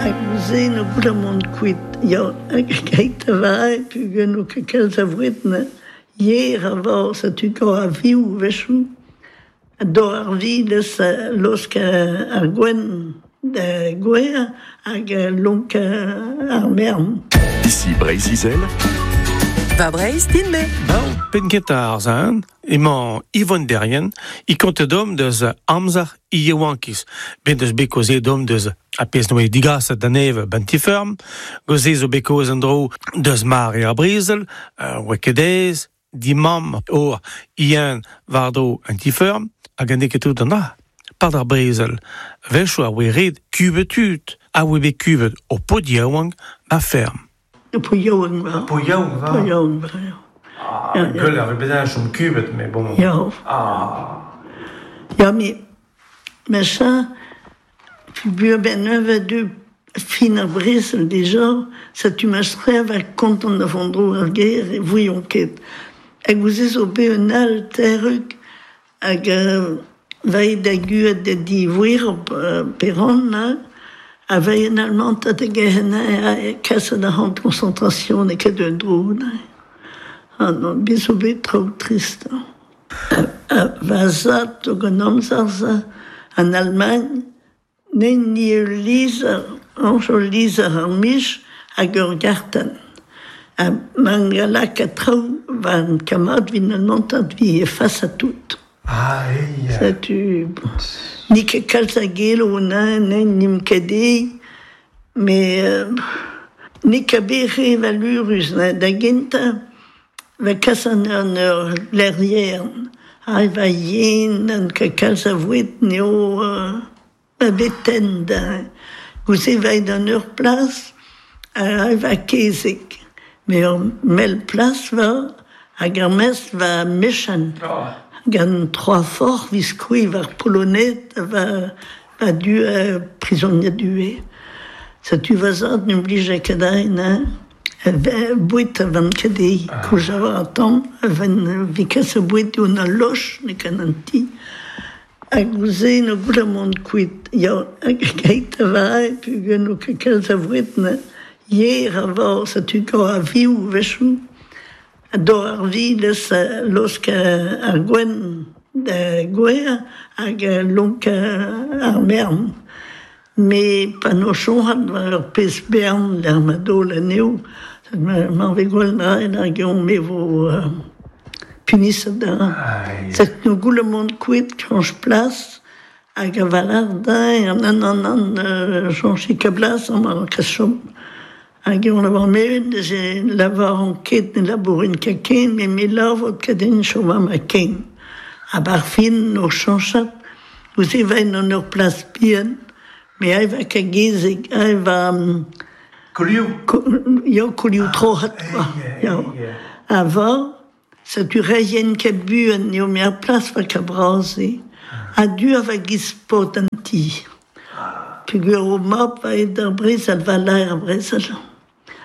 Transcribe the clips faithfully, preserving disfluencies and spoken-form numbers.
Hag gouze no gouda mont kuit. Ya, hag keit a vae, pugen no ket kalz a vouet na yer a vor, sa tu gant a viou vechou. A dor ar vi deus losk ar gwen da gwer hag lonk ar mern. Ici Breizh-Izel. Va Breizh din me. Bon, pen ket ar zan, emañ Yvonne Derrien, i konte dom deus amzer i yaouankiz. Ben deus bet kaoze dom deus a pezh noe digaset da neve ban ti-feurm, goze zo bet kaoz an dro deus mare ar brezel, uh, oa ket aes, di mamm or ien war-dro an ti-feurm, hag an ket tout an dra. Pad ar brezel, wechoù a oe ret kubet tud, a oe bet kubet o pod yaouank ma ferm. Po yaouank va. Po yaouank va. Po yaouank va, ya. Ah, Ja, ja. Gwell ar bet chom kubet, mais bon. Ya. Ah. Ya, me, me ça, puis ben neuve du fin ar brezel déjà, sa tu ma strev a kontant da vondro ar ger e voyon ket. Hag ouzez zo bet un al terruk hag euh, vai da guet da di voer op euh, peron, na, a vai en almant a da gehen a kaset da hand concentration e ket un dro, na. Ah non, bet zo bet traoù trist. A, va zad hag an amzer za, an Allemagne, nen ni ul lizer, anj ul lizer ar mich hag ur garten. A man galak a traoù va an kamad vin almantat vi e fas a tout. Ah, ei. Setu, ni ket kalz a gelo na, nen nim ket e, me euh, ni ket bet re valurus na, da genta, va kas an an ur lerriern, ha va yen, an ket kalz a vouet neo euh, va beten da. Gouze va an ur plas, ha va kezek. Me ur mel plas va, hag ar mes va mechan. Oh. Gant trois forts vis koui var polonet va, va du euh, prisonnier du Sa tu va zad n'oblije ket aen, hein. Bouet a van ket e, kouj a war a tamm, a van vi kas a bouet on a loch ne kan an ti. Hag gouze no gouda mont kuit. Ya, hag keit a vae, pugen no ket kalz a vouet na yer a vor, sa tu gant a viou vechou. A dor ar vi deus losk ar gwen da gwer hag lonk ar mern. Me pa no chonhat war ur pezh bern d'ar ma dol anezho, ma ve gwell draen hag eon me vo euh, punisset da. Set no goule mont kuit chanj plas hag a valar da an an an an euh, chanj ka blas an ar kas chom. Hag eon lavar meven, deus e lavar an ket ne labourin ket ken, me me lavot ket en chom ma ken. A bar fin no chanchat, ouz e vain an ur plas bihan, me ai va ket gezeg, ai va... Um, Koliou? Ko, ya, koliou trohat, quoi. Ya. A va, sa tu reien ket buan, eo me ar plas va ka braze. A du a va giz pot an ti. Peogwir o mab va ed ar brezel, va laer ar brezel.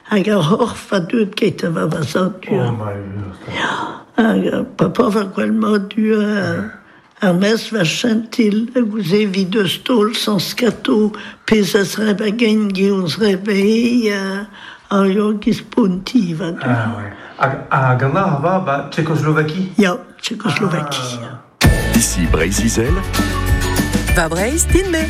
Hag ar horf va deuet ket a va va zad du. Oh, ma ur. Ya, hag ar papa va gwell ma du ar mes va chentil, hag ouz evi deus taol sans skato, pez a zreb a gen gi on zreb e, ar yo giz ponti va du. Ah, ouais. Hag, hag an ar va, ba, Tchécoslovaquie? Ya, Tchécoslovaquie. Ah. Ici Breizh-Izel. Va Breizh din me.